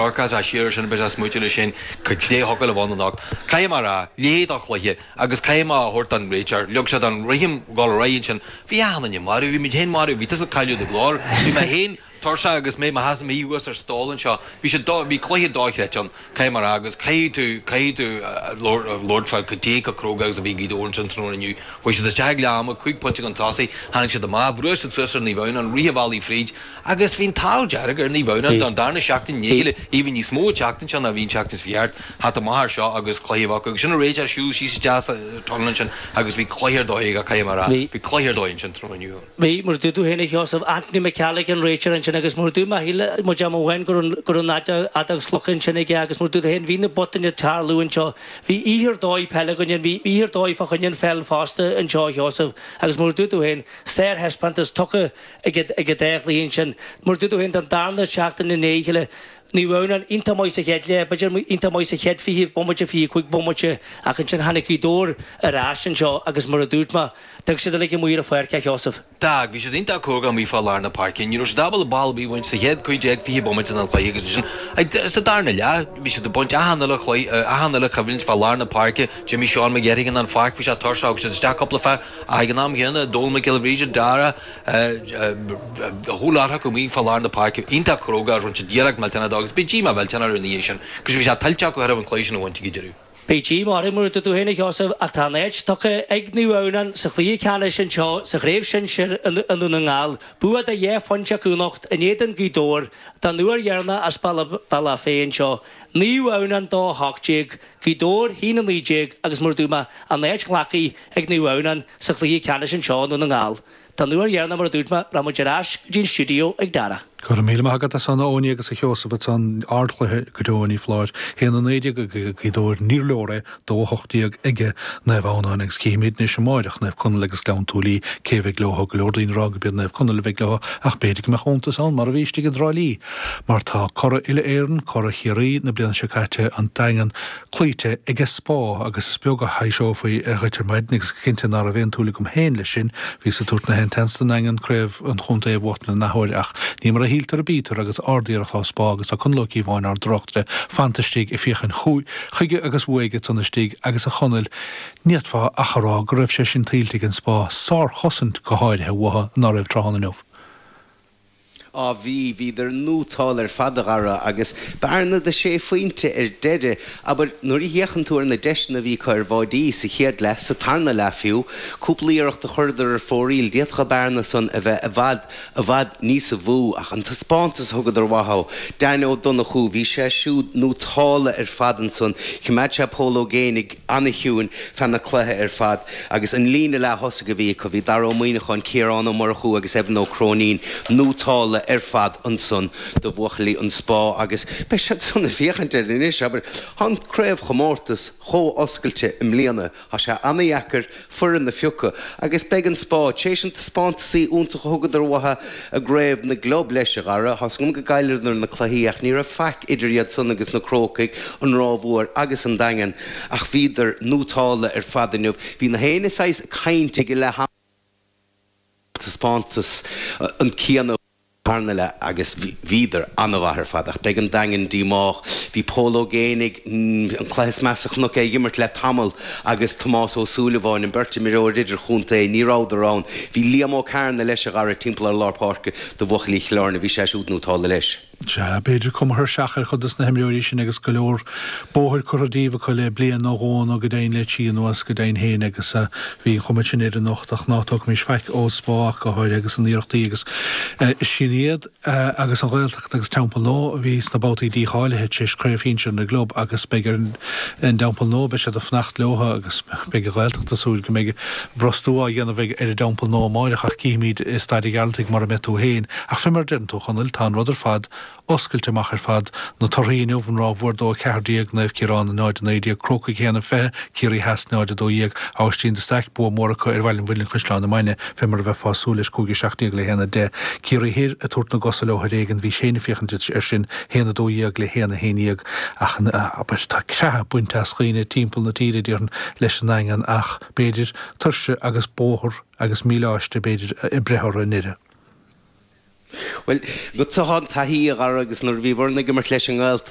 Dorcas á siar sin beidh sé smúite leis sin cad é a thiocfadh le bhun anocht. Caithfidh mé a rá, leithéid de chluiche agus caithfidh mé a thabhairt don réiteoir, leag sé don rithim dhul ar aghaidh ansin. Bhí achan duine marbh, bhí muid féin marbh, bhí tusa ag cailleadh do ghlór, bhí mé féin tuirseach agus mé i mo sheasamh thuas ar stól anseo. Bhí sé do, bhí cluiche dochreidte ann, caithfidh mé a rá agus caithfidh tú, caithfidh tú labhairt fá cad é chomh cróga agus a bhí Gaoth Dobhair ansin tráthnóna inniu. Chuaigh siad isteach ag leath ama, cúig phointe chun tosaigh, tháinig siad amach, bhrúigh siad suas ar Naomh Adhamhnáin, rith an bhealaigh fríd, Agus bhí an t-ádh dearg ar Naomh Adhamhnáin don darna seachtain i ndiaidh a chéile, even níos mó an tseachtain seo ná a bhí an tseachtain seo thart, theacht amach air seo agus cluiche a bheith acu. Agus sin an réiteoir siúl síos isteach sa tunnel ansin agus bhí cluiche ar dóigh aige, caithfidh mé a rá. Bhí cluiche ar dóigh ansin tráthnóna inniu. Bhí, mar a dúirt tú féin a Sheosaimh, Anthony McCallig an réiteoir ansin agus mar a dúirt mé shíl muid am amháin go raibh go raibh an fheadóg slogtha ansin aige agus mar a dúirt tú féin bhí na botúin ag tarlú anseo. Bhí oíche ar dóigh peile againn, bhí oíche ar dóigh fá choinne an pheil fosta anseo a Sheosaimh agus mar a dúirt tú féin, sárthaispeántas tugtha ag an dá chluiche ansin. Mar a dúirt tú féin, don darna seachtain i ndiaidh a chéile, Naomh Adhamhnáin iontach maith sa chéad leath, b'fhéidir iontach maith sa chéad 20 bomaite, 25 bomaite, ach ansin tháinig Gaoth Dobhair ar ais anseo agus mar a dúirt mé, d'fhág siad uilig amuigh ar an pháirc é, a Sheosaimh. D'fhág, bhí siad iontach cróga amuigh fá lár na páirce. Ní raibh siad ábalta ball ar bith a bhaint sa chéad 15, 20 bomaite den chluiche agus ansin sa darna leath, bhí siad ag baint achan uile chluiche, achan uile choimhlint fá lár na páirce. D'imigh Seán McGettigan den pháirc, bhí sé tuirseach, thug siad isteach cúpla fear ach ag an am chéanna, Dónal Mac Giolla Bhríde, Dara, a whole lot acu amuigh fá lár na páirce, iontach cróga agus rinne siad iarracht millteanach dó agus bhí díomá mhillteanach orthu ina dhiaidh sin agus bhí sé tuillte acu chóir a bheith an cluiche sin a bhaint ag an deireadh. Bhí díomá orthu mar a dúirt tú féin a Sheosaimh ach tá an áit tugtha ag Naomh Adhamhnáin sa chluiche ceannais anseo sa chraobh shinsir i nDún na nGall. Bua de dhá phointe acu anocht in éadan Gaoth Dobhair don uair dheireanach as Bealach Féich anseo. Naomh Adhamhnáin 2 18, Gaoth Dobhair 1 19 agus mar a dúirt mé an áit glactha ag Naomh Adhamhnáin sa chluiche ceannais anseo i nDún na nGall. Don uair dheireanach mar a dúirt mé, rachaidh muid ar ais go dtí an stiúideo ag Dara. Go raibh míle maith agat as san, a Eoiní agus a Sheosaimh ansan. Ardchluiche go deo, ní foláir. 1-19 ag Gaoth Dobhair, níor leor é, 2-18 ag Naomh Adhamhnáin agus cífimid anois amáireach Naomh Conaill agus Gleann tSúilí cé a bheidh leo. Go leor daoine ag rá gurb iad Naomh Conaill a bheidh leo ach b'fhéidir go mbeadh iontas ann mar a bhí istigh i dTrá Lí mar tá curaidh uile-Éireann, curaidh Chiarraí na bliana seo caite, an Daingean, cloíte ag an Spá agus is beag a thaibhseofaí dhuit ar maidin agus cinnte ná raibh aon tsúil agam féin leis sin. Bhíos ag tabhairt na haon tseans don nDaingean craobh an chontae a bhuachtaint an athuair ach ní mar a shíltear a bítear agus ard-iarracht ó Spá agus tá Conall Ó Cíobháin ár dtráchtaire fanta istigh ag féachaint chuige agus uaidh ansan istigh agus a Chonaill ní fhéadfá ach a rá go raibh sé sin tuillte ag an Spá, sár-chosaint go háirithe uathu ná raibh tráthnóna inniu. Á bhí, bhíodar nótálta ar fad a Dhara agus bearna de sé phointe ar deireadh. Abair, nuair a fhéachann tú ar na deiseanna a bhí acu ar bháidí sa chéad leath, sa tarna leath fiú, cúpla iarracht a chuireadar ar fóraoil, d'fhéadfadh an bearna san a bheith i bhfad, i bhfad níosa mhó. Ach an taispeántas a thugadar uathu, Dan Ó Donnchú, bhí sé siúd nótálta ar fad ansan, choimeád sé Pól Ó Géibheannaigh ana-chiúin feadh na cluiche ar fad. Agus an líne leath-thosaigh a bhí acu, bhí Dara Ó Muíneacháin, Ciarán Ó Murchú agus Evan Ó Cróinín nótálta ar fad ansan do bhuachaillí an Spá agus beidh siad san ag féachaint air anois, abair. Tá an craobhchomórtas chomh oscailte i mbliana, tá sé ana-dheacair foireann a phiocadh agus beidh an Spá, tar éis an taispeántasaí iontach a thugadar uathu i gCraobh na gClub leis, a Dhara. Tá's agam go gcailleadar na cluichí ach ní raibh faic idir iad san agus na Crócaigh, an Ráth Mhór agus an Daingean. Ach bhíodar nótálta ar fad inniu. Bhí na héinne saghas ag caint ag leath ama taispeántas an céanna tarna leath agus bhíodar an-mhaith ar fad. Ach beidh an Daingean díomách. Bhí Pól Ó Géibheannaigh, an cluiche is measa a chonac é ag imirt le tamall, agus Tomás Ó Súilleabháin, an beirt imreoir idirchontae, ní rabhadar ann. Bhí Liam Ó Cearna leis a Dhara timpeall ar lár páirce do bhuachaillí Chill Airne. Bhí sé siúd nótálta leis. Sea, b'fhéidir cuma thuirseach ar chuid dos na himreoirí sin agus go leor bóthair curtha díobh acu le bliain nó dhó nó go deimhin le trí anuas go deimhin féin agus bhí an chuma sin air anocht ach ná tógaimis faic ó Spá ach go háirithe agus a n-iarrachtaí agus sin iad agus an Ghaeltacht agus Teampall Nó a bhí sna babhtaí dícháilithe tar éis Craobh Shinsir na gClub agus beidh ar an dTeampall Nua beidh siad ag fanacht leo agus beidh an Ghaeltacht ag súil go mbeidh brostú á dhéanamh ar an dTeampall Nua amáireach ach cífimid i Staid an Ghearaltaigh mar a mbeidh tú féin. Ach fé mar a deireann tú, a Chonaill, tá an rud ar fad oscailte amach ar fad. Na torthaí inniu, An Ráth Mhór 2, 14, Naomh Ciarán 0, 19, Crócaigh 1, 20, Ciarraí Theas 0, 12, Aibhistín de Staic, bua mór acu ar Bhaile an Mhuilinn-Caisleán na Mainge, fé mar a bheifeá ag súil leis, 5, 17 le 1, 10, Ciarraí Thoir ag tabhairt na gcosa leo ar éigean, bhís féin ag féachaint air sin, 1, 12 le 1, 11, ach, abair, tá creathadh bainte as dhaoine timpeall na tíre, déarfainn, leis an nDaingean, ach b'fhéidir tuirse agus bóthar agus míleáiste, b'fhéidir, ag breith orthu i ndeireadh. Bhuel, agatsa atá an taithí, a Dhara, agus nuair a bhíobhair-ne ag imirt leis an nGaeltacht.